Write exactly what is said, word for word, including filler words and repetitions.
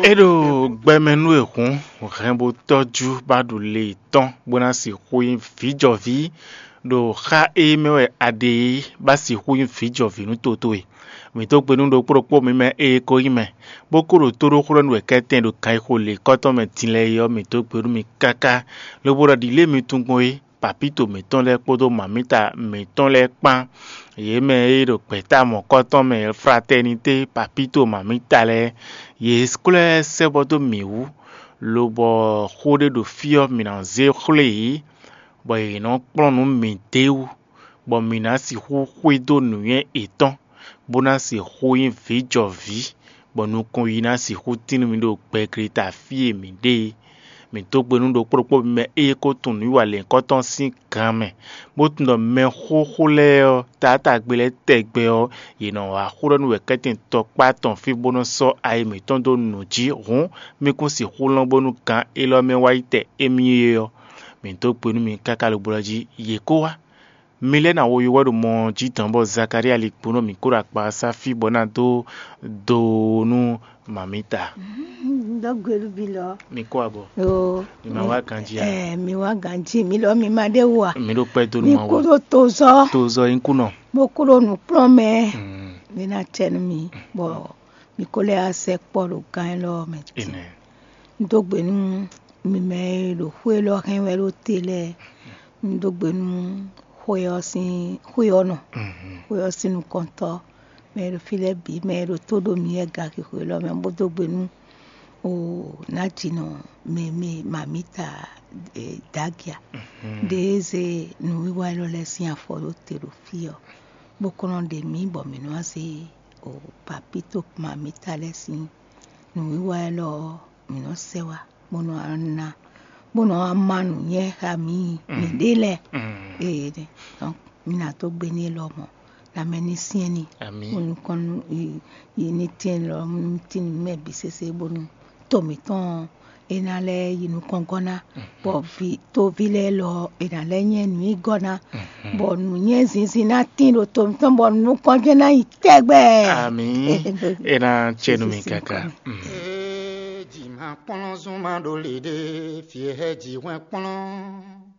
É ɖo gbɛmɛ nú è hǔn hɛn bó tɔ́jú bá ɖu le tɔn bó ná sixú nyí vǐjɔví ɖo xá e mɛ wɛ a ɖe é, bá sixú nyí vǐjɔví nú toto e. Mǐ dó gbe nú ɖokpó ɖokpó mi mɛ e ko nyí mɛ, bó kó ɖo tóɖóxó ɖɔ nú wɛ kɛ́tɛn ɖo ganxixo lěkɔ́tɔn mɛ din lɛ́ɛ é ɔ́, mǐ dó gbe nú mi káká, lobo ɖɔ ɖǐ lě mi tunwun gbɔn é. Papíto mǐtɔn lɛ́ɛ kpódó mamíta mǐtɔn lɛ́ɛ kpán, yě mɛ e ɖo gbɛ̌ta mɔ̌kɔ́tɔn mɛ fratɛnité papíto mamíta lɛ́ɛ, yě ko lɛ́ sɛ́ bɔ dó mǐ wú, lobɔ xó ɖé ɖo fí ɔ́, mǐ ná zé xwlé yě, bɔ yě nɔ kplɔ́n nǔ mǐ d'é wú, bɔ mǐ ná sixú xwedó nǔnywɛ́ yětɔn, bó ná sixú nyí vǐjɔví, bɔ nukɔn yi ná sixú tín nú mi ɖo gbɛgleta fí e mǐ ɖe é. Mǐ dó gbe nú ɖokpó ɖokpó mɛ e ko tunwun nǔwiwa lɛ̌nkɔ́tɔn sín gan mɛ, bó tunwun ɖɔ mɛ xóxó lɛ́ɛ ɔ́, taátagbe lɛ́ɛ tɛgbɛ ɔ́, yě nɔ wá xó ɖɔ nú wɛ̌kɛ́tɛn tɔkpá tɔn fí bó nɔ́ sɔ́ ayi mǐtɔn dó nǔ jí hǔn, mí kún sixú lɔn bónú gan élɔ́ mɛ wá yi tɛ émí é ɔ́. Mǐ dó gbe nú mi káká lobo ɔ́ jí, yě kó wá. Mi lɛ́ ná wo yi wɛ ɖo mɔ ɔ́ jí dɔn bɔ Zakalía ligbó nɔ mǐ kó ɖo akpasá fí bɔ ná dó do nú mamǐta. Dɔ́ gbe nú mi lɔ. Mi kó abɔ. Yo. Mi ma wá ganjí a? Ɛ, mi wá ganjí, mi lɔ mi ma ɖe wú a? Mi ɖo kpɛ dó nú mi ma kú wá. Ɖo tozɔ. Tozɔ yín kú nɔ. Mo kú ɖo nǔkplɔ́n mɛ. Mm. Mi ná cɛ nú mi, bɔ mi kó lɛ́ wá sɛkpɔ́ ɖo gán élɔ́ mɛ. Amen. Un dó gbe nú mi mɛ e ɖo xwé élɔ́ hɛn wɛ ɖó te lɛ́ɛ. Un dó gbe nú xwé ɔ́ sín xwé ɔ́ nɔ, xwé ɔ́ sín nukɔntɔ́, mɛ e ɖo fí lɛ́ɛ bǐ, mɛ e ɖo tó ɖo mǐ wɛ gaki xwé élɔ́ mɛ, bó dó gbe nú o nǎjínɔ mɛ mɛ mamǐta dǎgia ɖě e zé nǔwiwa élɔ́ lɛ́ɛ sín afɔ ɖó te ɖo fí ɔ́, bó kɔn nɔ ɖe mǐ bɔ mǐ nɔ wá zé o papíto mamǐta lɛ́ɛ sín nǔwiwa élɔ́ ɔ́, mǐ nɔ sɛ wá, bó nɔ wá ná, bó nɔ wá má nǔnywɛ́ xá mǐ, mǐɖée lɛ́ɛ. Ee, donc mǐ ná dó gbe n'i lɔmɔ̌, lanmɛ ní syɛ́n n'i, bó nukɔn nú yi ní tín lɔ nú tín mɛ bǐ sésé, bónú to mǐtɔn ɔ́, é ná lɛ́ yi nukɔn gɔ́ ná, bɔ vǐ toví lɛ́ɛ lɔ ɔ́, è nǎ lɛ́ nyɛ nǔ yi gɔ́ ná, bɔ nǔnywɛ́ zinzin ná tín ɖo to mǐtɔn, bɔ nukɔn jɛ́n ná yi tɛgbɛ. Amǐ. É ná cɛ nú mi káká. Ee, jǐ ma kplɔ́n zún ma ɖo le ɖé, fí e hɛ́ jǐ hwɛ́n kplɔ́n.